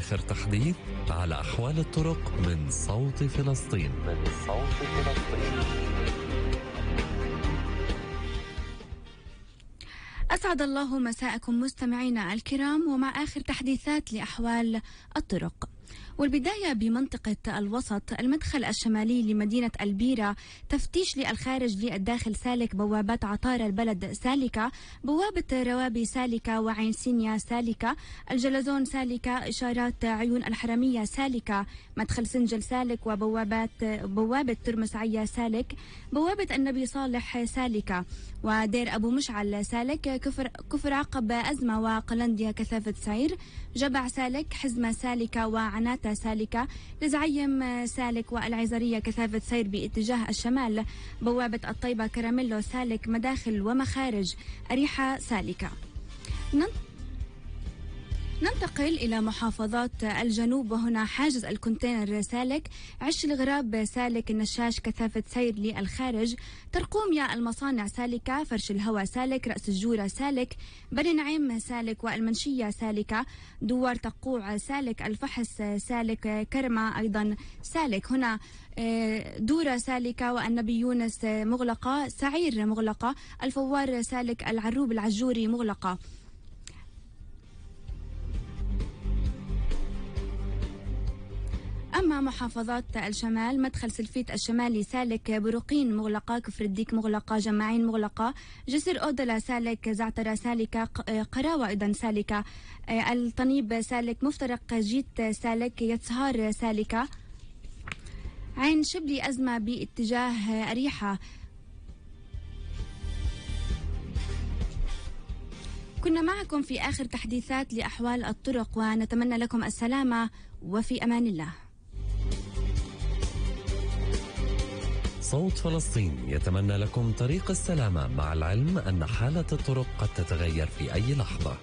آخر تحديث على أحوال الطرق من صوت فلسطين. أسعد الله مساءكم مستمعينا الكرام، ومع آخر تحديثات لأحوال الطرق. والبداية بمنطقة الوسط، المدخل الشمالي لمدينة البيرة تفتيش للخارج للداخل سالك، بوابات عطارة البلد سالكة، بوابة روابي سالكة، وعين سينيا سالكة، الجلزون سالكة، إشارات عيون الحرمية سالكة، مدخل سنجل سالك، بوابة ترمسعية سالك، بوابة النبي صالح سالكة، ودير أبو مشعل سالك، كفر عقب أزمة وقلنديا كثافة سير، جبع سالك، حزمة سالكة، وعناتة سالكة، لزعيم سالك، والعزرية كثافة سير باتجاه الشمال، بوابة الطيبة كراميلو سالك، مداخل ومخارج أريحة سالكة. ننتقل إلى محافظات الجنوب، وهنا حاجز الكونتينر سالك، عش الغراب سالك، النشاش كثافة سير للخارج، ترقوميا المصانع سالكة، فرش الهواء سالك، رأس الجورة سالك، بني نعيم سالك، والمنشية سالكة، دوار تقوع سالك، الفحص سالك، كرمة أيضا سالك. هنا دورة سالكة، والنبي يونس مغلقة، سعير مغلقة، الفوار سالك، العروب العجوري مغلقة. أما محافظات الشمال، مدخل سلفيت الشمالي سالك، بروقين مغلقة، كفر الديك مغلقة، جماعين مغلقة، جسر أودلا سالك، زعترة سالكة، قراوة أيضا سالكة، الطنيب سالك، مفترق جيت سالك، يتسهار سالكة، عين شبلي أزمة باتجاه أريحة. كنا معكم في آخر تحديثات لأحوال الطرق، ونتمنى لكم السلامة وفي أمان الله. صوت فلسطين يتمنى لكم طريق السلامة، مع العلم أن حالة الطرق قد تتغير في أي لحظة.